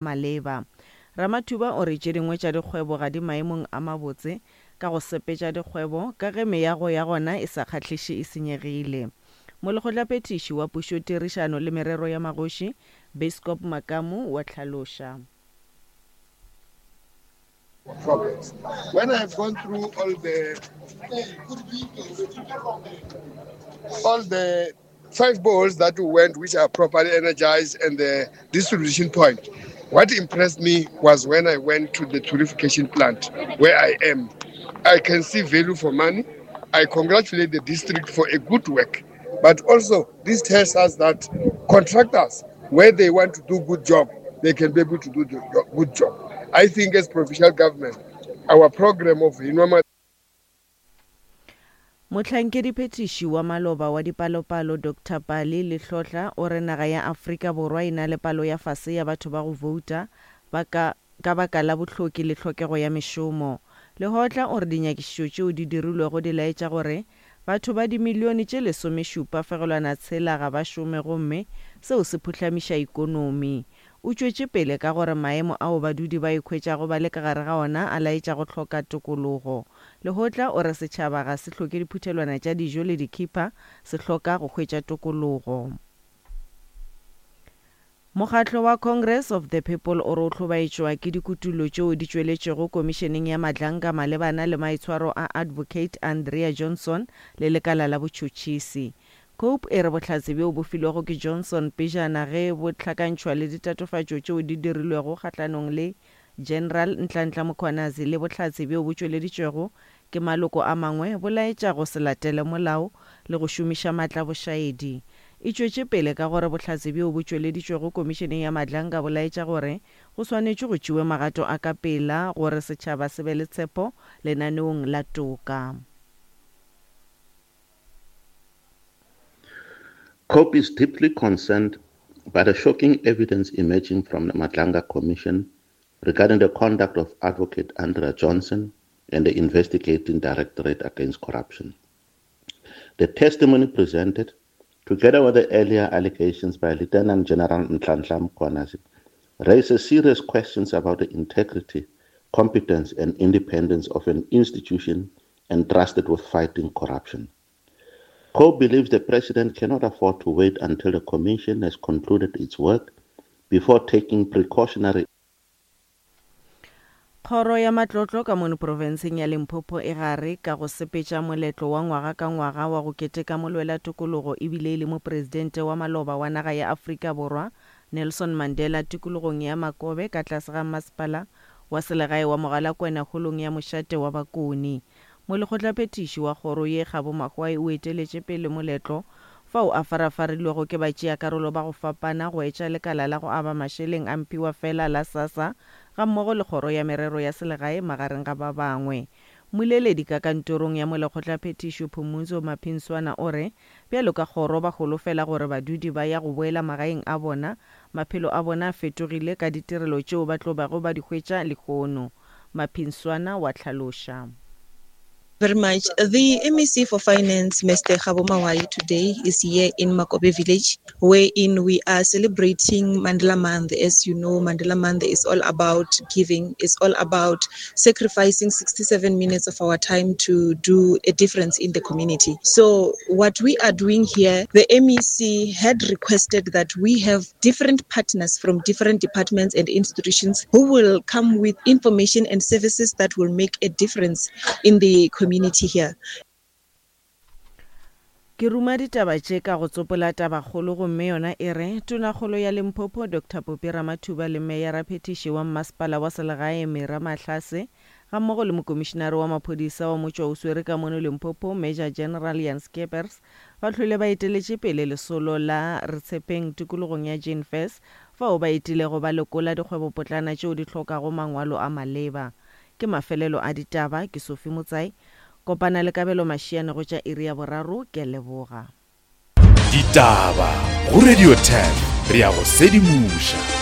Maleba. Ramathuba o re tše dingwe tša dikgwebo ga di maemong a mabotse ka go sepetša dikgwebo ka ge meago ya gona e sa kgahliše e senyegile. Molekgotlaphethiši wa Pušotirišano le Merero ya Magoši, Biskop Makamu wa hlaloša. Province. When I have gone through all the all the five boreholes that we went, which are properly energized, and the distribution point, what impressed me was when I went to the purification plant where I am. I can see value for money. I congratulate the district for a good work. But also, this tells us that contractors, where they want to do good job, they can be able to do the good job. I think as provincial government, our program of Hinwama Mohlankediphethiši wa maloba wa dipalopalo Doctor Pali Lehlotla o re naga ya Afrika Borwa e na le palo ya fase ya batho ba go bouta ba ka ka baka la bohloki le hlokego ya mešomo. Lehotla o re dinyakišišo tšeo di dirilwego di laetša gore batho ba dimilione tše lesomešupa fegelwana tshela ga ba šome gomme seo se phuhlamiša ikonomi. O tšwetše pele ka gore maemo ao badudi ba ikhwetšago ba le ka gare ga ona a laetša go hloka tokologo. Lehotla o re setšhaba ga se hloke diphuthelwana tša dijo le dikhipha, se hloka go hwetša tokologo. Mokgatlo wa Congress of the People o re o hlobaetšwa ke dikutullo tšeo di tšweletšego komišeneng ya Madlanga malebana le maitshwaro a Advocate Andrea Johnson le lekala la botšhotšhisi. Cope e re bohlatse bjo bo filwego ke Johnson pejana ge bo hlakantšhwa le ditatofatšo tšeo di dirilwego kgahlanong le General Nhlanhla Mkhwanazi le bohlatse bjo bo tšweleditšwego ke maloko a mangwe bo laetša go se latele molao le go šomiša maatla bošaedi. E tšwetše pele ka gore bohlatse bjo bo tšweleditšwego Komišeneng ya Madlanga bo laetša gore go swanetšwe go tšewe magato a ka pela gore setšhaba se be le tshepo lenaneong la toka. Cope is deeply concerned by the shocking evidence emerging from the Madlanga Commission regarding the conduct of Advocate Andrea Johnson and the Investigating Directorate Against Corruption. The testimony presented, together with the earlier allegations by Lieutenant General Nhlanhla Mkhwanazi, raises serious questions about the integrity, competence, and independence of an institution entrusted with fighting corruption. COPE believes the president cannot afford to wait until the commission has concluded its work before taking precautionary Kgoro ya Matlotlo ka mono profenseng ya Limpopo e gare ka go sepetša moletlo wa ngwaga ka ngwaga wa go keteka molwela tokologo ebile e le mopresidente wa maloba wa naga ya Afrika Borwa Nelson Mandela tikologong ya Makobe ka tlase ga mmasepala wa selegae wa Mogalakwena holong ya mošate wa Bakoni. Molekgotlaphethiši wa kgoro ye Kgabo Mahwai o eteletše pele moletlo fao a farafarilwego ke batšeakarolo ba go fapana go etša lekala la go aba mašeleng a mphiwafela la SASSA gammogo le kgoro ya merero ya selegae magareng ga ba bangwe. Mmoleledi ka kantorong ya molekgotlaphethiši Phumudzo Maphinswana o re bjalo ka kgoro ba holofela gore badudi ba ya go boela magaeng a bona maphelo a bona a fetogile ka ditirelo tšeo ba tlo bago ba di hwetša lehono. Maphinswana wa hlaloša. Very much. The MEC for Finance, Mr. Kgabo Mawai, today is here in Makobe village, wherein we are celebrating Mandela Month. As you know, Mandela Month is all about giving, it's all about sacrificing 67 minutes of our time to do a difference in the community. So, what we are doing here, the MEC had requested that we have different partners from different departments and institutions who will come with information and services that will make a difference in the community here. Ke ruma ditaba tše ka go tsopola tabakgolo gomme yona e re, Tonakgolo ya Limpopo Doctor Poppy Ramathuba le Meyaraphethiši wa Mmasepala wa Selegae Mira Mahlase gammogo le Mokomišinare wa Maphodisa wa Motšwaoswere ka mono Limpopo Major General Jan Scheepers ba hlwele ba eteletše pele lesolo la Re Tshepeng tikologong ya Jane Furse fao ba etilego ba lekola dikgwebopotlana tšeo di hlokago mangwalo a maleba. Ke mafelelo a ditaba, ke Sophie Motsai. Kopana le Kabelo Mashiane go tša iri ya boraro, ke a leboga. Ditaba go Radio 10 re a go sedimoša.